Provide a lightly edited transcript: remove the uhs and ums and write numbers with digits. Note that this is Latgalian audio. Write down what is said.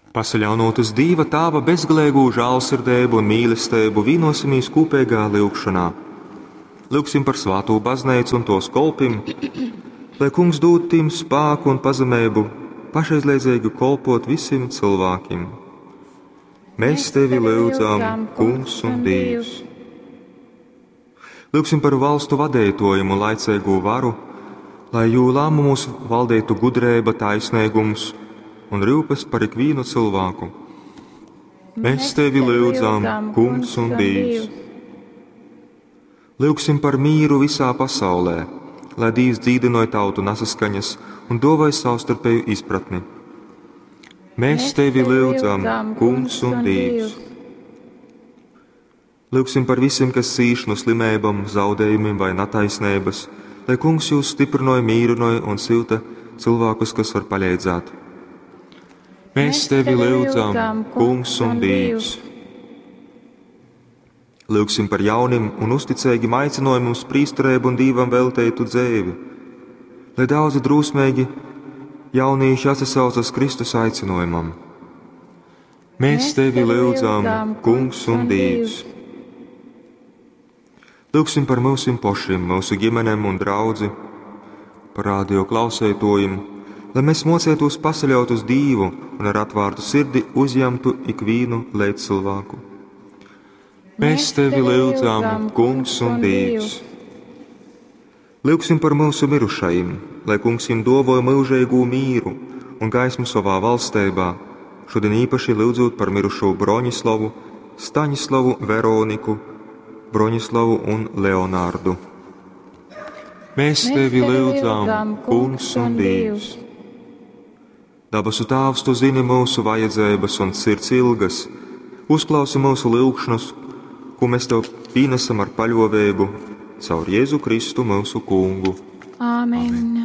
Pasaļaunūt uz Dīva Tāva bezgaleigū žālsirdeibu un mīlesteibu, vīnosimies kūpeigā lyugšonā. Lyugsim par svātū bazneicu un tōs kolpim, lai Kungs dūd tim spāku un pazemeibu pašaizliedzeigi kolpot visim cilvēkiem. Mēs tevi lyudzam, Kungs un Dīvs. Lyugsim par valstu vadeitōjim un laiceigū varu, lai jū lēmumos valdītu gudreiba, taisnīgums un rūpes par ikvienu cilvēku. Mēs tevi lyudzam, Kungs un Dīvs. Lyugsim par mīru visā pasaulē, lai Dīvs dzīdinoja tautu nesaskaņas un dāvāja savstarpēju izpratni. Mēs tevi lyudzam, Kungs un Dīvs. Lyugsim par visiem, kas cīš no slimībām, zaudējumiem vai netaisnības, lai Kungs jūs stiprinoja, mīrinoja un silta cilvēkus, kas var palīdzēt. Mēs tevi lyudzam, Kungs un Dīvs. Lūgsim par jaunim un uzticīgim aicinājumam uz prīsterību un Dīvam veltētu dzēvi, lai daudzi drūsmīgi jaunieši atsaucas Kristus aicinājumam. Mēs tevi lyudzam, Kungs un Dīvs. Lūgsim par mūsim pašiem, mūsu ģimenēm un draudzi, par radio klausētojiem, lai mēs mocētos pasaļaut uz Dīvu un ar atvērtu sirdi uzņemtu ikvienu līdzcilvēku. Mēs tevi lūdzam, Kungs un Dīvs. Lūgsim par mūsu mirušajiem, lai Kungs viņiem dovoja mūžīgu mīru un gaismu savā valstībā, šodien īpaši lūdzot par mirušo Broņislavu, Staņislavu, Veroniku, Broņislavu un Leonārdu. Mēs tevi lūdzam, Kungs un Dīvs. Dabasu Tāvs, tu zini mūsu vajadzības un sirds ilgas. Uzklausi mūsu lūgšanas, ko mēs tev pienesam ar paļovēbu caur Jēzu Kristu mūsu kungu. Āmen.